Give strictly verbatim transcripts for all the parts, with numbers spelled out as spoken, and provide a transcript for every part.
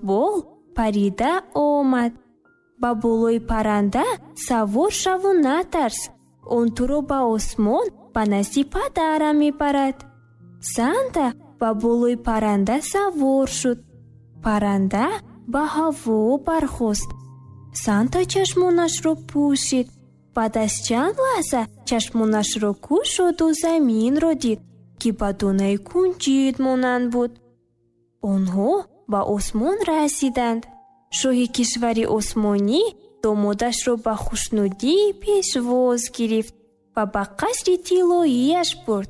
Сиёҳбол парида омад. Ба болои парранда савор шаву натарс. Он туро ба осмон ба назди падарам мебарад. Санта ба болои парранда савор шуд. Парранда ба ҳаво бархост. Санта чашмонашро пӯшид. Баъд аз чанд лаҳза чашмонашро кушоду заминро дид, ки ба донаи кунҷид монанд буд. Онҳо ба осмон расиданд. Шоҳи кишвари осмонӣ домодашро ба хушнудӣ пешвоз гирифт ва ба қасри тиллоияш бурд.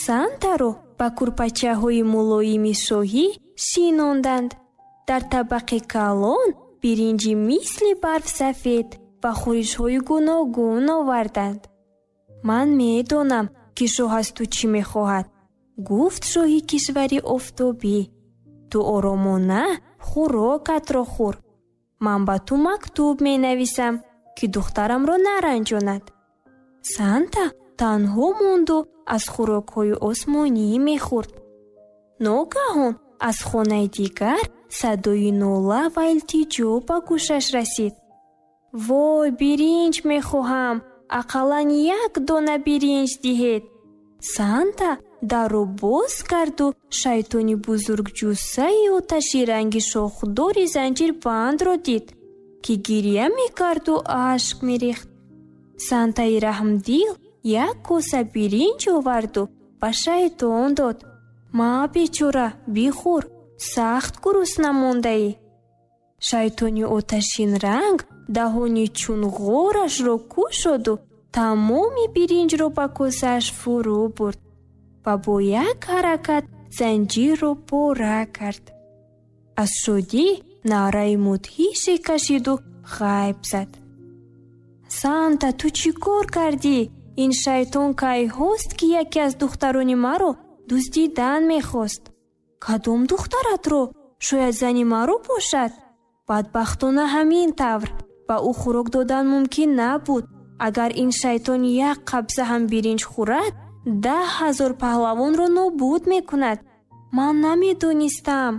Сантаро ба курпачаҳои мулоими шоҳӣ шинонданд. Дар табақи калон биринҷи мисли барф сафед ва хӯришҳои гуногун оварданд. Ман медонам, ки шоҳ аз ту чӣ мехоҳад, гуфт шоҳи кишвари офтобӣ. Ту оромона хӯрокатро хӯр. Ман ба ту мактуб менависам, ки духтарамро наранҷонад. Санта танҳо монду аз хӯрокҳои осмонӣ мехӯрд. Ногаҳон аз хонаи дигар садои нола ва илтиҷо ба гӯшаш расид. Вой, биринҷ мехоҳам, ақаллан як дона биринҷ диҳед. Санта дарро боз карду шайтони бузургҷуссаи оташи ранги шохдори занҷирбандро дид, ки гиря мекарду ашк мерехт. Сантаи раҳмдил як коса биринҷ оварду ба шайтон дод. Ма бечора, бихӯр, сахт гурусна мондаӣ. Шайтони оташин ранг даҳони чун ғорашро кушоду тамоми биринҷро ба косааш фурӯ бурд ва бо як ҳаракат занҷирро пора кард. Аз шодӣ наъраи мудҳише кашиду ғайб зад. Санта, ту чӣ кор кардӣ? Ин шайтон кайҳост, ки яке аз духтарони маро дуздидан мехост. Кадом духтаратро? Шояд зани маро бошад? Бадбахтона ҳамин тавр. Ба ӯ хӯрок додан мумкин набуд. Агар ин шайтон як қабза ҳам биринҷ хӯрад, даҳ ҳазор паҳлавонро нобуд мекунад. Ман намедонистам.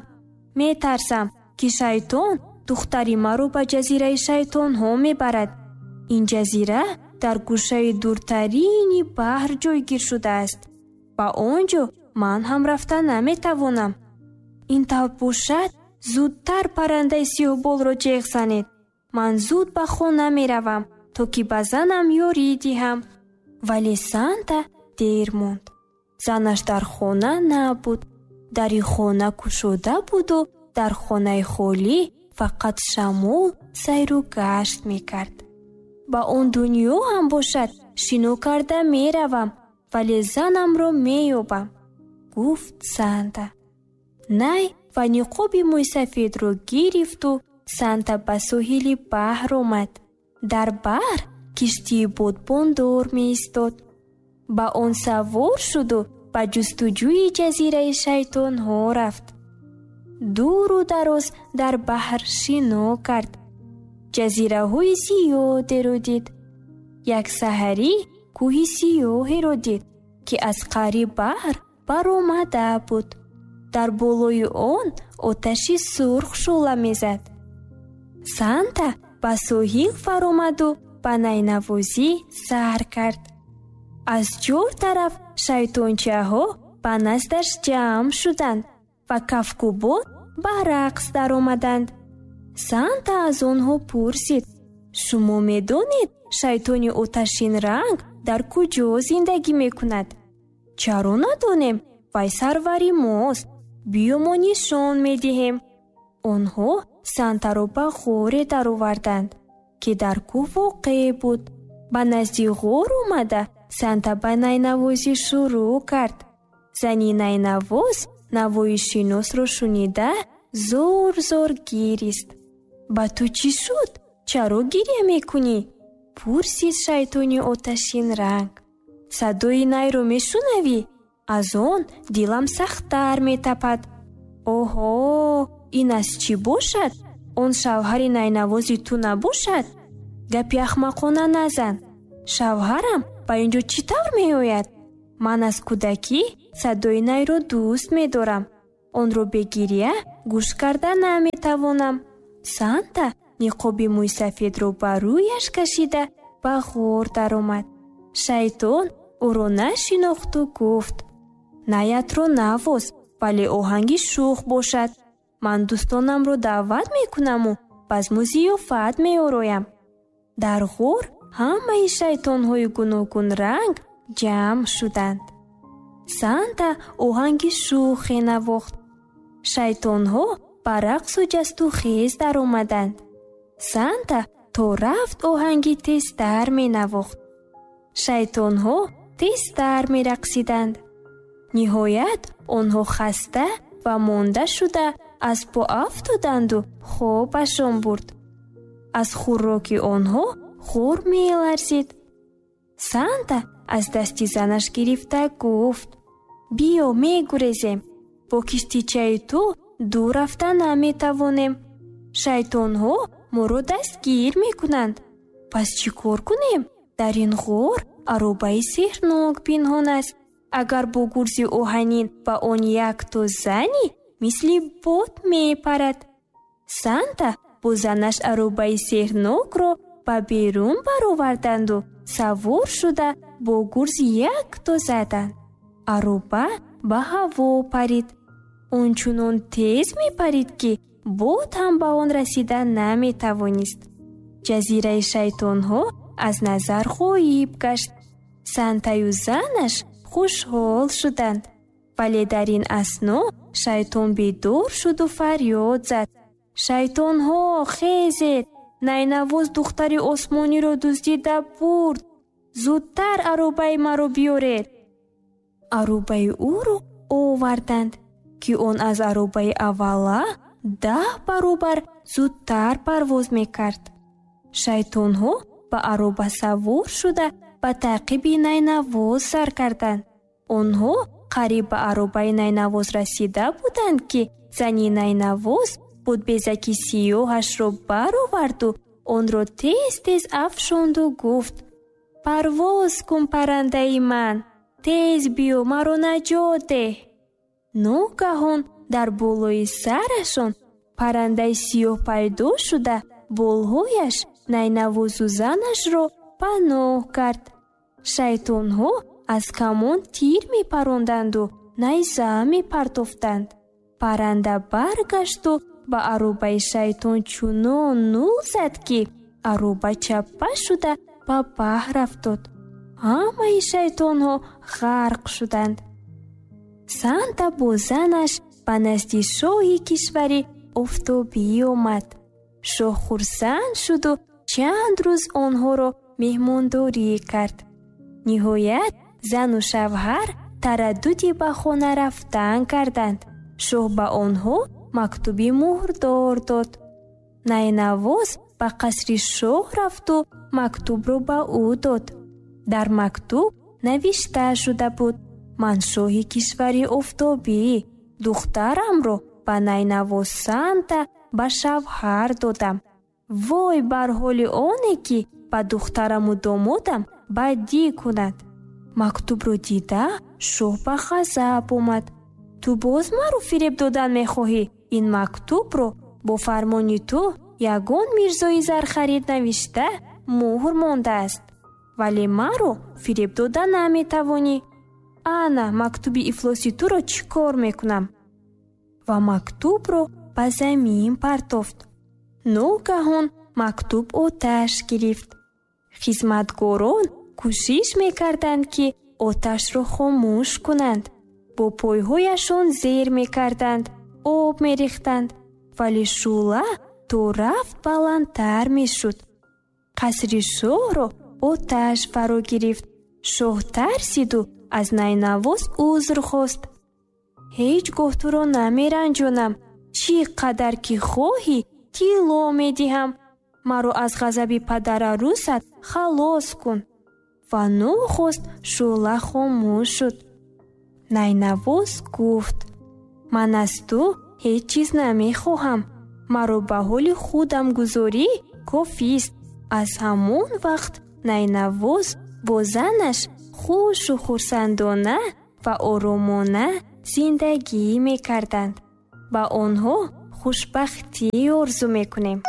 Метарсам, ки шайтон духтари маро ба ҷазираи шайтонҳо мебарад. Ин ҷазира дар гӯшаи дуртарини баҳр ҷойгир шудааст. Ба он ҷо ман ҳам рафта наметавонам. Ин тавр бошад, зудтар паррандаи сиёҳболро ҷеғ занед. Ман зуд ба хона меравам, то ки ба занам ёрӣ диҳам. Вале Санта дер монд. Занаш дар хона набуд. Дари хона кушода буду дар хонаи холӣ фақат шамол сайру гашт мекард. Ба он дунё ҳам бошад шино карда меравам, вале занамро меёбам, гуфт Санта. Най ва ниқоби мӯйсафедро гирифту Санта ба соҳили баҳр омад. Дар баҳр киштии бодбондор меистод. Ба он савор шуду ба ҷустуҷӯи ҷазираи шайтонҳо рафт. Дуру дароз дар баҳр шино кард. Ҷазираҳои зиёдеро дид. Як саҳарӣ кӯҳи сиёҳеро дид, ки аз қаъри баҳр баромада буд. Дар болои он оташи сурх шӯъла мезад. Санта ба соҳил фаромаду ба найнавозӣ сар кард. Аз чор тараф шайтончаҳо ба наздаш ҷамъ шуданд ва кафкӯбон ба рақс даромаданд. Санта аз онҳо пурсид: шумо медонед шайтони оташин ранг дар куҷо зиндагӣ мекунад? Чаро надонем? Вай сарвари мост. Биё мо нишон медиҳем. Онҳо Сантаро ба ғоре дароварданд, ки дар кӯҳ воқеъ буд. Ба назди ғор омада Санта ба найнавозӣ шурӯъ кард. Зани найнавоз навои шиносро шунида зор-зор гирист. Ба ту чӣ шуд? Чаро гиря мекунӣ? Пурсид шайтони оташин ранг. Садои найро мешунавӣ? Аз он дилам сахттар метапад. Оҳо, ин аз чӣ бошад? Он шавҳари найнавози ту набошад? Гапи ахмақона назан. Шавҳарам ба ин ҷо чӣ тавр меояд? Ман аз кӯдакӣ садои найро дӯст медорам. Онро бе гиря гӯш карда наметавонам. Санта ниқоби мӯйсафедро ба рӯяш кашида ба ғор даромад. Шайтон ӯро нашинохту гуфт: Наятро навоз, вале оҳанги шӯх бошад. Ман дӯстонамро даъват мекунаму базму зиёфат меороям. Дар ғор ҳамаи шайтонҳои гуногунранг ҷамъ шуданд. Санта оҳанги шӯхе навохт. Шайтонҳо ба рақсу ҷасту хез даромаданд. Санта то рафт оҳанги тезтар менавохт. Шайтонҳо тезтар мерақсиданд. Ниҳоят онҳо хаста ва монда шуда аз по афтоданду хобашон бурд. Аз хӯроки онҳо ғор меларзид. Санта аз дасти занаш гирифта гуфт: Биё мегурезем, бо киштичаи ту дур рафта наметавонем. Шайтонҳо моро дастгир мекунанд. Пас чӣ кор кунем? Дар ин ғор аробаи сеҳрнок пинҳон аст. Агар бо гурзи оҳанин ба он якто занӣ, мисли бод мепарад. Санта бо занаш аробаи сеҳрнокро ба берун бароварданду савор шуда бо гурз якто заданд. Ароба ба ҳаво парид. Он чунон тез мепарид, ки бод ҳам ба он расида наметавонист. Ҷазираи шайтонҳо аз назар ғоиб гашт. Сантаю занаш хушҳол шуданд. Вале дар ин асно шайтон бедор шуду фарёд зад: Шайтонҳо, хезед! Найнавоз духтари осмониро дуздида бурд. Зудтар аробаи маро биёред. Аробаи ӯро оварданд, ки он аз аробаи аввала даҳ баробар зудтар парвоз мекард. Шайтонҳо ба ароба савор шуда ба таъқиби Найнавоз сар карданд. Онҳо қариб ба аробаи Найнавоз расида буданд, ки зани Найнавоз будбезаки сиёҳашро бароварду онро тез-тез афшонду гуфт: Парвоз кун, паррандаи ман, тез биё, маро наҷот деҳ. Ногаҳон дар болои сарашон паррандаи сиёҳ пайдо шуда болҳояш Найнавозу занашро паноҳ кард. Шайтонҳо аз камон тир мепаронданду найза мепартофтанд. Парранда баргашту ба аробаи шайтон чунон нул зад, ки ароба чаппа шуда ба баҳр афтод. Ҳамаи шайтонҳо ғарқ шуданд. Санта бо занаш ба назди шоҳи кишвари офтобӣ омад. Шоҳ хурсанд шуду чанд рӯз онҳоро меҳмондорӣ кард. Ниҳоят зану шавҳар тараддуди ба хона рафтан карданд. Шоҳ ба онҳо мактуби муҳрдор дод. Найнавоз ба қасри шоҳ рафту мактубро ба ӯ дод. Дар мактуб навишта шуда буд: Ман шоҳи кишвари офтобӣ, духтарамро ба Найнавоз Санта ба шавҳар додам. Вой бар ҳоли оне, ки ба духтараму домодам бадӣ кунад. Мактубро дида шоҳ ба ғазаб омад. Ту боз маро фиреб додан мехоҳӣ? Ин мактубро бо фармони ту ягон мирзои зархарид навишта муҳр мондааст, вале маро фиреб дода наметавонӣ. Ана мактуби ифлоси туро чӣ кор мекунам? Ва мактубро ба замин партофт. Ногаҳон мактуб оташ гирифт. Хизматгорон кӯшиш мекарданд, ки оташро хомӯш кунанд. Бо пойҳояшон зер мекарданд, об мерехтанд, вале шӯъла то рафт баландтар мешуд. Қасри шоҳро оташ фаро гирифт. Шоҳ тарсиду аз Найнавоз узр хост. Ҳеҷ гоҳ туро намеранҷонам. Чӣ қадар ки хоҳӣ тилло медиҳам. Маро аз ғазаби падарарӯсат халос кун. Ва нохост шӯъла хомӯш шуд. Найнавоз гуфт: Ман аз ту ҳеҷ чиз намехоҳам. Маро ба ҳоли худам гузорӣ кофист. Аз ҳамон вақт Найнавоз бо занаш хушу хурсандона ва оромона зиндагӣ мекарданд. Ба онҳо хушбахтӣ орзу мекунем.